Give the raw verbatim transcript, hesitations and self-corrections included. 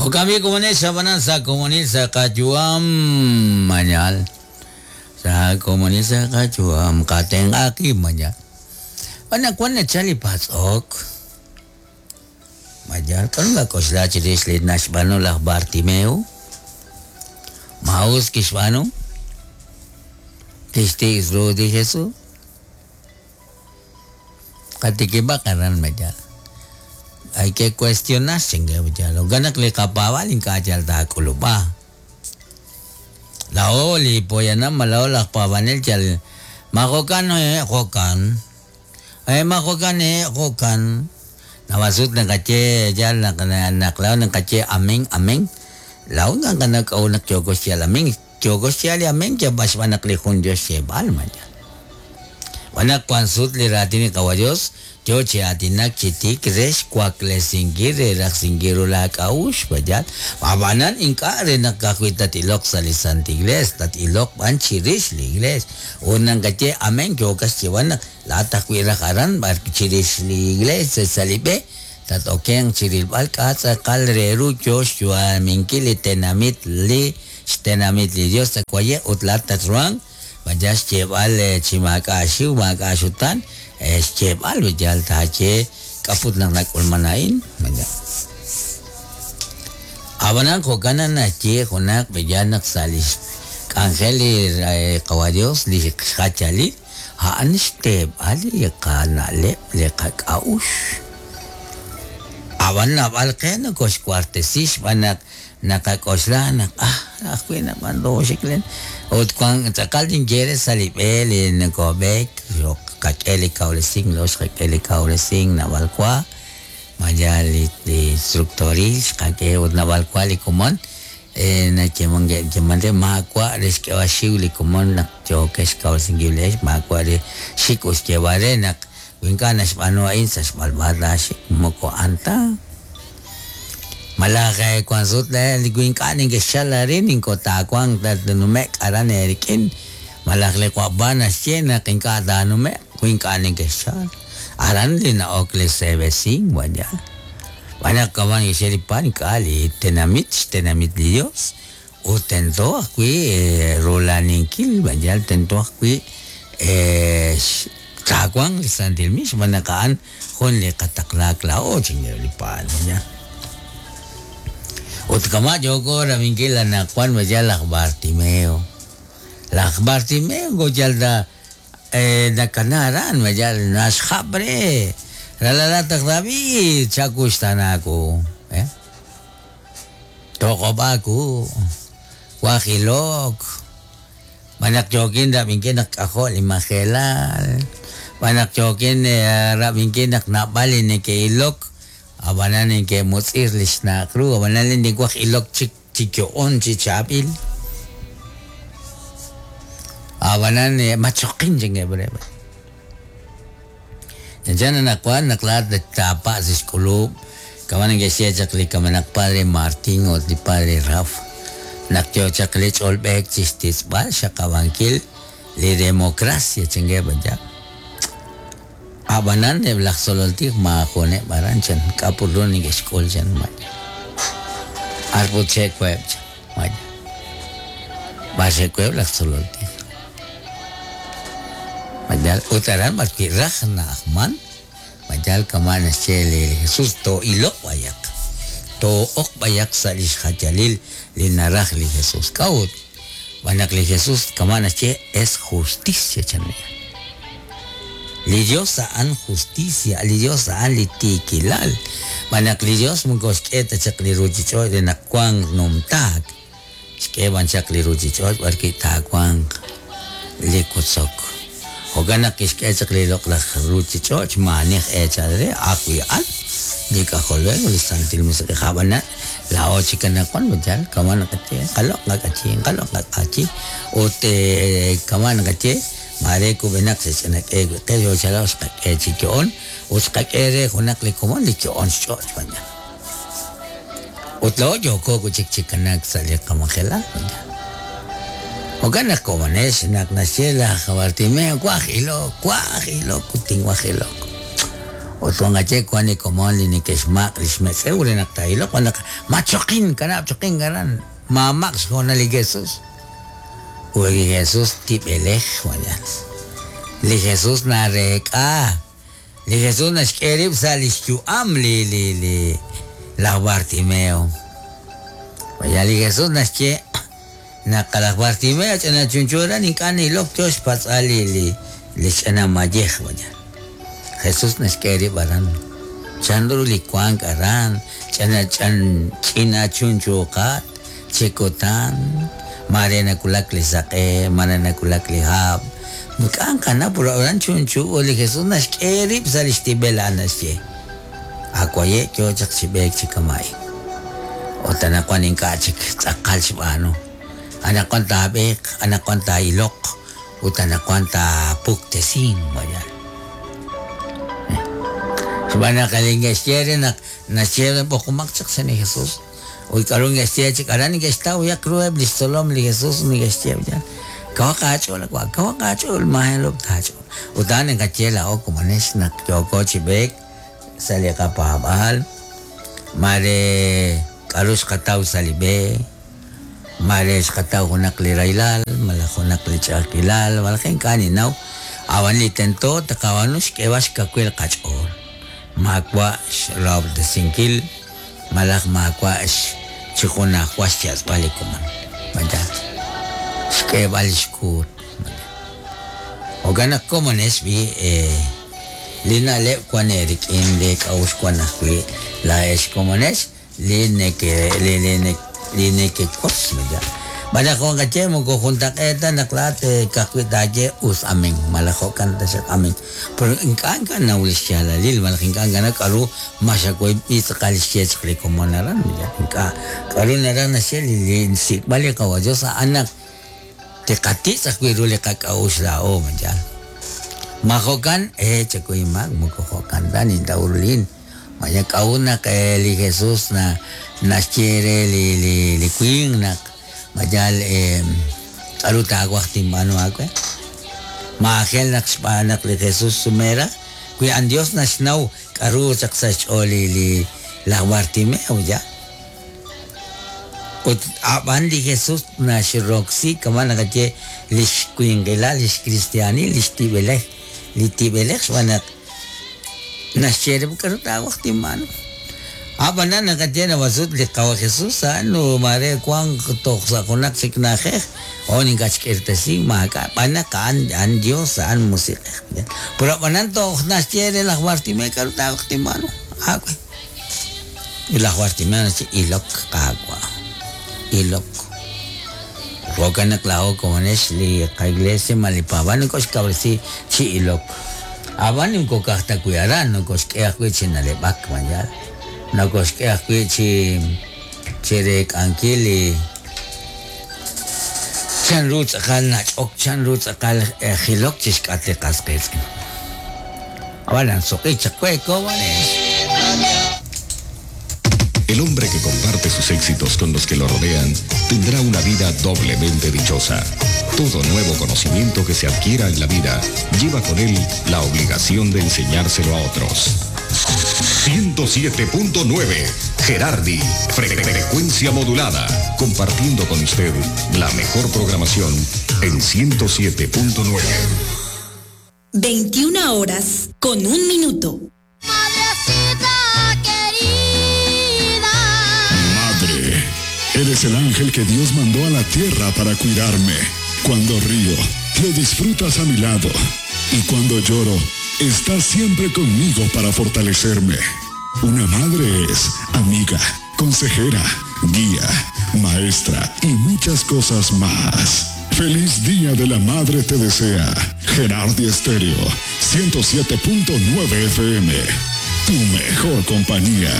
Okami komonil sabanan sa komonil sa kayuam manyal. Sa komonil sa kayuam kateng aki manyal. Ana kwan na chali pasok. Manyal kan ga kosla chiris li nashbano laj Bartimeo. Maus kishbano. Tishti isro di Jesús. Katikiba karan manyal. Hay que cuestionarse lo ganak li kapawal in kachal ta kulupa lao li poyana malao la pavanel chal makokan eh kokan eh makokan eh kokan nawasut na kache jal na naklao na kache ameng ameng lao nga kanak au nak chokos siya ameng chokos siya ameng kya baswanak li hun Dios siya bal man wanak kwansut li ratini kawayos yo chiatinak chitik resh kwaklesingi reraxingiru la kaush bayat abanan inka renakakuit tatilok sa lisant igles tatilok ban chirish li igles unang kache amen kyokas chiwanak latak wirakaran bar chirish li igles salibe tatokeng chirilbal katzakal reru yosh minkili tenamit li tenamit li Dios takwaye utlatatruang bayas chebal chimakashiu makashutan es chebal yal tache kaput nang nakulmanain manya abanan kokana na che jonak beyanak salis angeli kawadios li khachali haan steb ali kanale le kakaush abanna balqen kos cuartesis banak nakakosla nak ah akwina bando shiklen ot kwan tsakal din jere salibel en kobek yo kakeli kaulesing los kakeli kaulesing nabalkwa maya li instructoril kake ot nabalkwa li komon en chemonge chemande makwa les que bashiuli komon nak chokes kaulesing giles makwa le shikus que varenak winkanas bano insas balbada shik moko anta malakay kwan sut le gwinkanin ke shalarin in kota kwan tanumek aran erikin malakle kwa banas chena kinka danumek gwinkanin ke shal aran li na okle sebesing wanya wana kaman iseripan kali tenamit tenamit li Dios o tento akwi rolaninkil wanya tento akwi eh takwang santilmis manakaan hon le kataklak lao chingelipan wanya Utkama joko ramingkila na kwan wajal lak Bartimeo. Lak Bartimeo gojal da eh nakanaran wajal nashabre. Ralalatak David chakustanaku. Eh? Tokobaku. Wahilok. Manak jokin ramingkin nak ako limakelal. Manak jokin ramingkin nak nabali ni keilok. Abanan ke mutzir lisnakru, abanan ni guaj ilok chik chikyoon chichapil. Abanan machokin jenge breve. Jangan nakwan naklat tapa siskulu, kawan ke siya chakli kamanak padre Martin o di padre Raf. Nakyo chakli cholbek chistis ba siya kawangkil li demokrasya jenge banyak. Abanan de blak sololtik maakone baran chan kapurron ni school chan maya arpo check web chan maya base web blak sololtik majal utaran marki rajna ahman majal kamana chele Jesús to ilok bayak to ok bayak salis hajalil linaraj li Jesús kaut banak li Jesús kamana che es justicia chan li Dios aan justicia, li Dios aan li tikilal. Manak li Dios mungkos keta chak li ruchichoy de nakwang numtak. Skeban chak li ruchichoy barki takwang li kutsok. Hoganak iske chak li loklak ruchichoy manih echadre akwi an. Di kakolwe li santil musake habana la ochi kanakwan bajal kaman kache kalok kachi kalok kachi ote kaman kache mare ko benak se chenak e ke yo chala os ka e chikion os ka ere honak le komon le kion shot banya otlo yo ko ko chik chikanak sale kamangela banya ogana komones nak nasiela Bartimeo kwajilo kwajilo kuting wajilo Ut wanqaye wan li komon li neke'xmaq' li xmetz'ew re naq taa'iloq wan naq machoqin kanab' choqin aran maamaq' xhoonal li Jesús. Ut li Jesús tib'elej wayan. Li Jesús nareek'a. Li Jesús naxk'e rib' sa' li xyu'am li li li laj Bartimeo. Vaya li Jesús naxye naq laj Bartimeo ch'ina chunchu aran ink'a' nilok yo xpatz'al li li li ch'ina mayej vaya. Jesús naxk'e rib' aran. Chanru li wank aran ch'ina ch'an ch'ina chunchuqat chikutan mare nakulak li saq'e mare nakulak li hab' ink'a' nqanaw puro aran chunchu ut li Jesús naxk'e rib' sa' li xtib'el a'an naxye akwaye' yo chaq chi b'eek chi kama'in ut anaqwan ink'a' chik tz'aqal xb'aanu anaqwan taab'eeq anaqwan taa'iloq ut anaqwan taapuktesin vaya. Xb'aan naq li neke'xye re naq naxye b'oqomaq chaq sa' li Jesús ut k'aru neke'xye chik aran neke'xtaw yak ruheb' li xtzolom li Jesús neke'xye ya kawaq aach'ool wa kawaq aach'ool majelob' taach'ool ut a'an naqaye laa'o komonex naq yooko chi b'eek sa' li qapaab'aal mare k'aru xqataw sa' li b'e mare xqataw junaq li rahilal malaj junaq li ch'a'ajkilal malaj ink'a' ninnaw ab'an li tento taqab'aanu xk'eeb'al xkawil qach'ool maawa' xrahob'tesinkil malaj maawa' chi junajwa xyatz'b'al li komon vaya xk'eeb'al xkuut jo'kan naq komonex b'i eh, li na'leb' wan eerik'in li k'a'uxl wan ajwi' laa'ex komonex li neke li li li nekekos vaya. Malaj jo'qaye moko juntaq'eeta naq laa'at ka'ajwi' taaye us amen malaj jo'kan taxaq amen pero ink'a' ink'a' naw li xyaalalil malaj ink'a' ink'a' k'aru maxakoy b'i tz'aqal xye chaq li komon aran ink'a' k'aru naraj naxye li li xsik'b'al li qawa Dios a'an naq tiqatitz' ajwi' ru li qak'a'uxl laa'o vaya. Ma jo'kan eh chakuy maak moko jo'kan ta nintaw ru lin vaya k'a'ut naq li Jesús na naxye re li li li winq naq vaya eh k'aru taawaj tinb'aanu aawe maajel naq xb'aan naq li Jesús sumera wi an Dios naxnaw k'aru chaq sa' xch'ool li li laj Bartimeo ya. Ut ab'an li Jesús naxroksi kama naqaye li xwinqilal li xkristianil li xtib'elej li tib'elej xb'aan naq naxye re k'aru taawaj tinb'aanu ab'anan naqaye nawasut li qawa Jesús a'an mare wank toj sa' junaq chik na'ajej o ink'a' xk'irtesi maak'a' b'an naq a'an a'an Dios a'an musiq'ej pero ab'anan toj naxye re laj Bartimeo k'aru taawaj tinb'aanu aawe ut laj Bartimeo naxye ilok qaawa' ilok jo'kan naq laa'o komonex li qaiglesia ma li paab'aal nokoxkawresi chi ilok ab'an moko ka'aj ta wi' aran nokoxk'e ajwi' chi na'leb'ak vaya nokoxk'e ajwi' chi chi reek'ankil li chanru tz'aqal nach'ok chanru tz'aqal jilok chi xk'at li qas qiitz'in ab'anan suq'i chaq we komonex. El hombre que comparte sus éxitos con los que lo rodean tendrá una vida doblemente dichosa. Todo nuevo conocimiento que se adquiera en la vida lleva con él la obligación de enseñárselo a otros. ciento siete punto nueve Gerardi, frecuencia modulada, compartiendo con usted la mejor programación en ciento siete punto nueve. veintiuna horas con un minuto. Madrecita querida. Madre, eres el ángel que Dios mandó a la tierra para cuidarme. Cuando río, lo disfrutas a mi lado. Y cuando lloro, estás siempre conmigo para fortalecerme. Una madre es amiga, consejera, guía, maestra y muchas cosas más. Feliz Día de la Madre te desea Gerardi Estéreo, ciento siete punto nueve F M, tu mejor compañía.